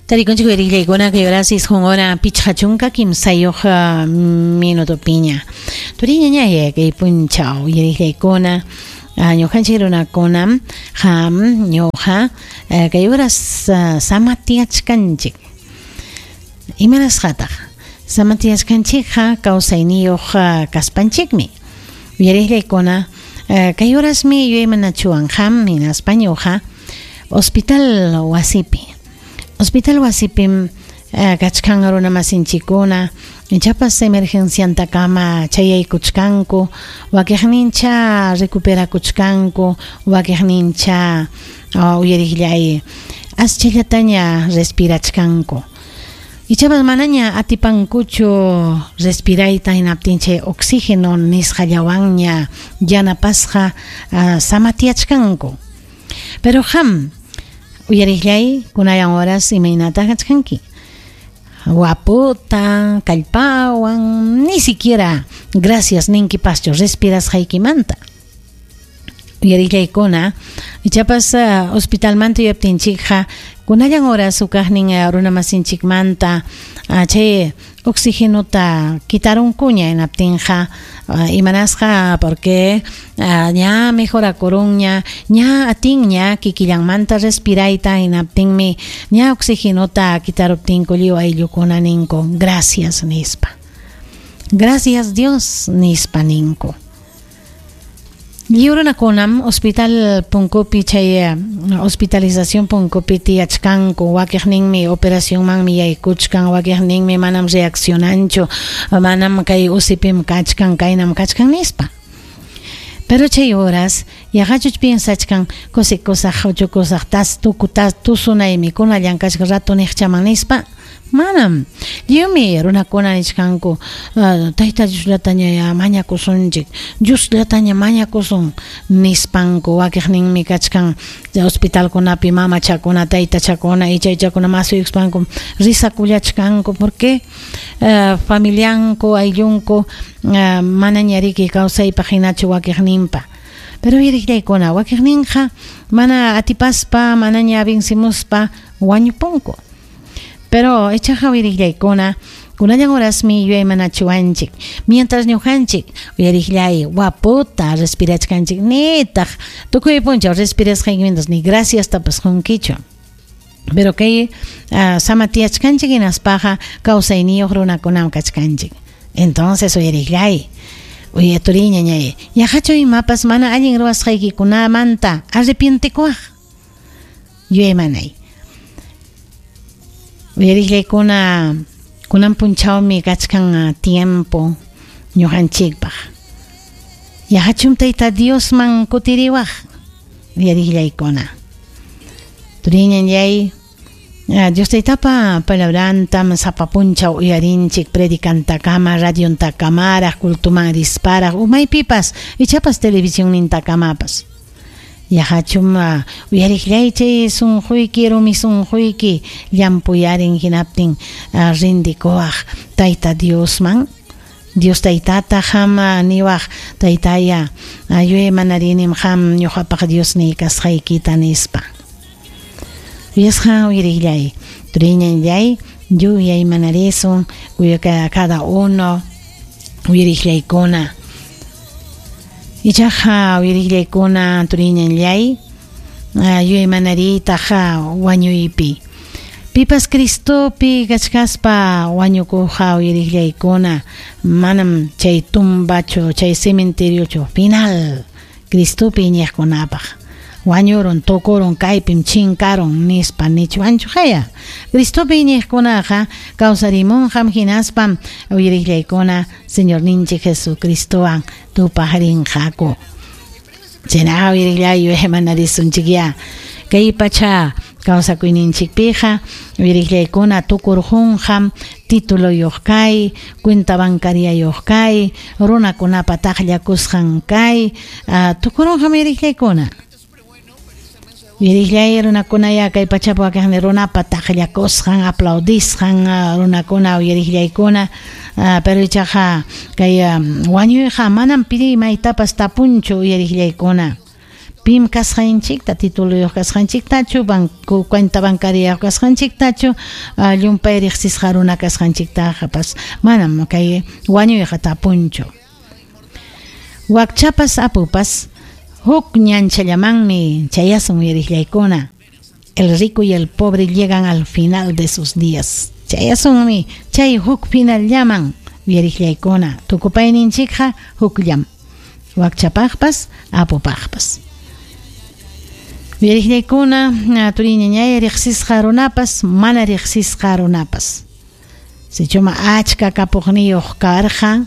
Tarikunchik uyariqllaykuna kay horas isqun hora 53 minutopiña. Turiñañay kay punchaw uyariqllaykuna ñuqanchik runakunam qam ñuqa kay horas samatiachkanchik. Imanasqataq? Samatiachkanchikqa kawsayniyuq kaspanchikmi. Uyariqllaykuna kay horasmi yuyaymanachuwan qam hinaspa ñuqa hospital wasipi. Hospital wasipim kachkan runamasinchikkuna ichapas emergenciantakama chayaykuchkanku, wakiqnincha recuperakuchkanku, wakiqnincha uyariqllay aschallataña respirachkanku. Ichapas manaña atipankuchu respirayta hinaptin chay oxígeno nisqallawanña yanapasqa samatiachkanku. Pero qam uyariqllay kunayan horas imaynata kachkanki. Guapota, kallpawan, ni siquiera gracias ninkipaschu respirasqaykimanta. Uyariqllaykuna ichapas hospitalmanta yuyaptinchikqa kunallan horas hukaqnin runamasinchikmanta chay oxigenota kitarunkuña hinaptinqa imanasqa porque ña mejorakurunña, ña atinña kikillanmanta respirayta hinaptinmi ña oxigenota kitaruptinku lliw ayllukuna ninku gracias nispa. Gracias Dios nispa ninku. Lliw runakunam hospital punkupi chay hospitalización punkupi tiyachkanku, wakiqninmi operacionmanmi yaykuchkan, wakiqninmi manam reaccionanchu, manam kay UCIpim kachkan, kaynam kachkan nispa. Pero chay horas yaqachuch piensachkan kusikusaq, uchukusaq, tas tuku tas tusunaymi kunallan kachka rato niqchaman nispa. Manam. Lliwmi runakuna nichkanku Tayta Diosllataña mañakusunchik, Diosllataña mañakusun nispanku. Wakiqninmi kachkan hospitalkunapi mamachakuna, taytachakuna, ichaychakuna masuykuspanku risakullachkanku porque familianku, ayllunku manaña riki kawsaypaq hinachu wakiqninpa. Pero uyariqllaykuna wakiqninqa mana atipaspa, manaña vencimuspa wañupunku. Pero ichaqa uyariqllaykuna kunallan horasmi yuyaymanachiwanchik. Mientras ñuqanchik uyariqllay guapota respirachkanchik nitaq tukuy punchaw respirasqaykimantas ni gracias tapas qunkichu. Pero kay samatiachkanchik hinaspaqa kawsayniyuq runakunam kachkanchik. Entonces uyariqllay uyaturiñañay yaqachu imapas mana allin ruwasqaykikunamanta arrepientekuwaq yuyaymanay. Uyariqllaykuna kunan punchawmi kachkan tiempo ñuqanchikpaq. Yaqachum Tayta Diosman kutiriwaq uyariqllaykuna. Turiñañay Dios Taytapa palabrantam sapa punchaw uyarinchik predicantakama, radiontakamaraq, cultuman risparaq, umaypipas, ichapas televisionnintakamapas. Yaqachum uyariqllay chay sunquyki, rumi sunquyki llampuyarin hinaptin rindikuwaq Tayta Diosman. Dios Taytata qam niwaq Taytaya yuyaymanarinim qam ñuqapaq Diosniy kasqaykita nispa. Uyasqa uyariqllay turiñanllay yuyaymanarisun cada uno uyariqllaykuna. Ichaqa uyariqllaykuna turiñanllay yuyaymanariytaqa wañuypi. Pipas Cristopi kachkaspa wañukuqqa uyariqllaykuna manam chay tumbachu, chay cementeriochu final Cristopi iñiqkunapaq. Wañurun, tukurun, kaypim chinkarun nispa nichwanchu haya. Cristopi iñiqkunaqa kawsarimunqam hinaspam uyariqllaykuna Señorninchik Jesucristowan tupaqrinqaku. Chaynaqa uyariqllay yuyaymanarisunchikya. Kay pacha kawsakuyninchikpiqa uyariqllaykuna tukurqunqam tituloyuq kay, cuenta bancariayuq kay, runakunapa taqllakusqan kay, tukurunqam uyariqllaykuna. Uyariqllay runakunaya kay pachapi wakiqni runapa taqllakusqan, aplaudisqan runakuna uyariqllaykuna, pero ichaqa kay wañuyqa manam pi maytapas tapunchu uyariqllaykuna. Pim kasqanchikta, tituluyuq kasqanchiktachu, banco cuenta bancariyuq kasqanchiktachu, llumpay riqsisqa runa kasqanchiktapas manam kay wañuyqa tapunchu. Wakchapas apupas huk ñanchallamanmi chayasun uyariqllaykuna. El rico y el pobre llegan al final de sus días. Chayasunmi chay huk finallaman uyariqllaykuna. Tukupayninchikqa hukllam. Wakchapaqpas apupaqpas. Uyariqllaykuna turiñañay riqsisqa runapas mana riqsisqa runapas. Sichuma achka kapuqniyuq karqa,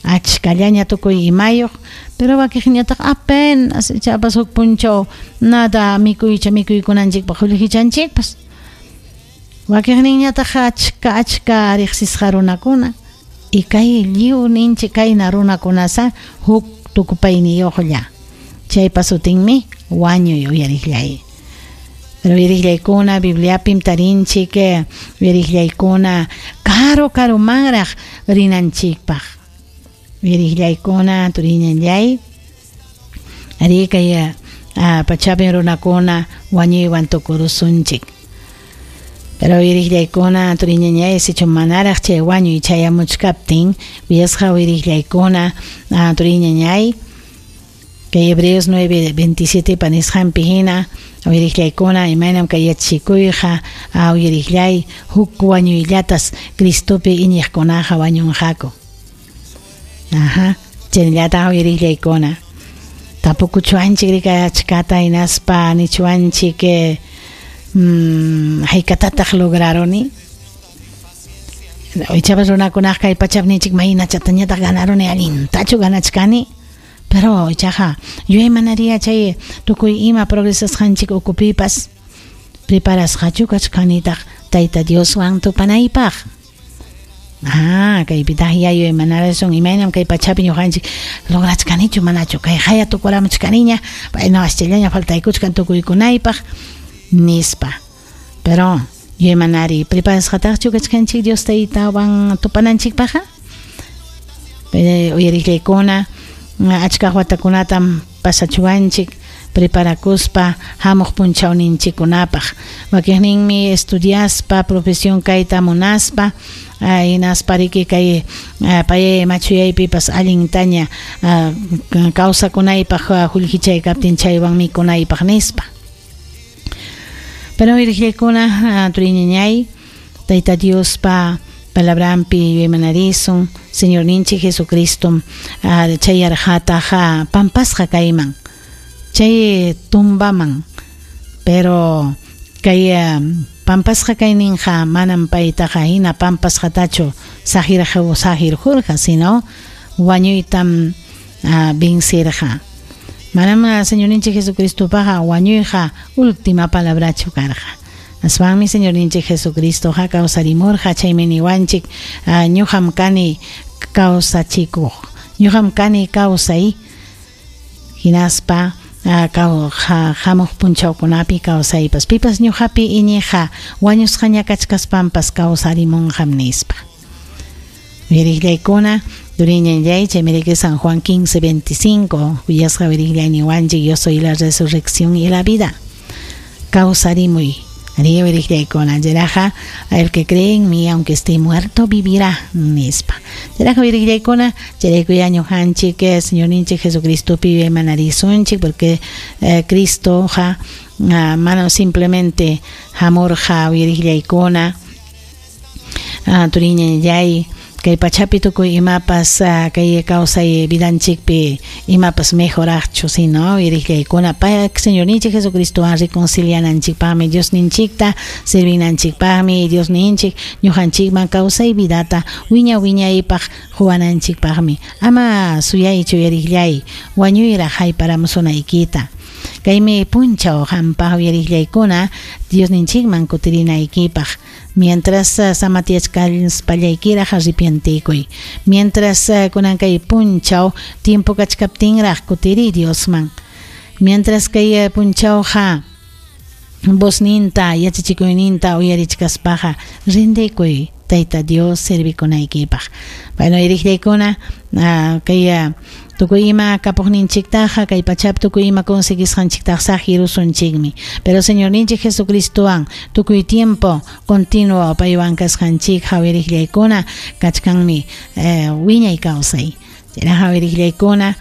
achkallaña tukuy imayuq, pero wakiqñataq apenas ichapas huk punchaw nada mikuycha mikuykunanchikpaq qullqichanchikpas. Wakiqninñataq achka achka riqsisqa runakuna y kay lliw ninchik kayna runakunasa huk tukupayniyuqlla. Chaypa sutinmi wañuy uyariqllay. Pero uyariqllaykuna Bibliapim tarinchik uyariqllaykuna karu karumanraq rinanchikpaq. Uyariqllaykuna turiñallay ari kay pachapin runakuna wañuywan tukurusunchik. Pero uyariqllaykuna turiñañay sichu manaraq chay wañuy chayamuchkaptin uyasqa uyariqllaykuna turiñañay kay Hebreos 9:27 panisqanpi hina uyariqllaykuna imaynam kay yachachikuyqa uyariqllay huk wañuyllatas Cristopi iñiqkunaqa wañunqaku. Ajá, chaynallataq uyariqllaykuna tapukuchuanchik rika achkata hinaspa nichuanchik haykatataq lograruni. Ichapas runakunaqa kay pachapi ninchik maynachatañataq ganaruni allintachu ganachkani. Pero ichaqa yuyaymanariya chay tukuy ima progresasqanchik ukupipas preparasqachu kachkanitaq Tayta Dioswan tupanaypaq. Ah, kaypitaq yuyaymanarasun imaynam kay pachapi ñuqanchik lograchkanichu manachu kay haya tukuramuchkaniña payna aschallaña faltaykuchkan tukuykunaypaq nispa. Pero yuyaymanari preparasqataqchu kachkanchik Dios Taytawan tupananchikpaqqa? Uyariqllaykuna achka watakunatam pasachuwanchik preparakuspa hamuq punchawninchikkunapaq. Wakiqninmi estudiaspa profesión kayta munaspa hinaspa riki kay payay machuyaypipas allintaña kawsakunaypaq qullqichaykaptin chaywan mikunaypaq nispa. Pero uyariqllaykuna turiñañay Tayta Diospa palabrampi yuyaymanarisun Señorninchik Jesucristo chayarqataqa pampasqa kayman chay tumbaman, pero kay pampasqa kayninqa manam paytaqa hina pampasqatachu sahirqurqa, sino wañuytam vencirqa. Manam Señorninchik Jesucristopaqa wañuyqa última palabrachu karqa. Aswanmi Señorninchik Jesucristoqa kawsarimurqa chaymi niwanchik ñuqam kani kawsachikuq, ñuqam kani kawsay hinaspa hamuq punchawkunapi kawsaypas pipas ñuqapi iñiqa wañusqaña kachkaspanpas kawsarimunqam nispa. Uyariqllaykuna turiñallay chaymi riki San Juan 15:25 uyasqa uyariqllay niwanchik yo soy la resurrección y la vida. Kawsarimuy. Ari uyariqllaykuna chayraqa el que cree en mí aunque esté muerto vivirá nispa. Chayraqa uyariqllaykuna chayraykuya ñuqanchik Señorninchik Jesucristopi yuyaymanarisunchik porque Cristoqa mana simplemente hamurqa uyariqllaykuna turiñallay kay pachapi tukuy imapas kay kawsay vidanchikpi imapas mejoraqchu sino uyariqllaykuna pay Señorninchik Jesucristowan reconciliananchikpaqmi Diosninchikta servinanchikpaqmi Diosninchik ñuqanchikman kawsay vidata wiña wiñaypaq quwananchikpaqmi. Ama suyaychu uyariqllay wañuyraq hayparamusunaykita. Kaymi punchaw qampaq uyariqllaykuna Diosninchikman kutirinaykipaq. Mientras samatiachkalpallaykiraq arrepientikuy. Mientras kunan kay punchaw tiempo kachkaptinraq kutiri Diosman. Mientras kay punchawqa vozninta yachachikuyninta uyarichkaspaqa rindikuy Tayta Dios servikunaykipaq. Bueno, iriqllaykuna, kay tukuy ima kapuqninchiktaqa, kay pachapi tukuy ima conseguisqanchiktaqa saqirusunchikmi. Pero Señorninchik Jesucristowan tukuy tiempo continuo paywan kasqanchik hawiriqllaykuna kachkanmi wiñay kawsay. Chayna hawiriqllaykuna.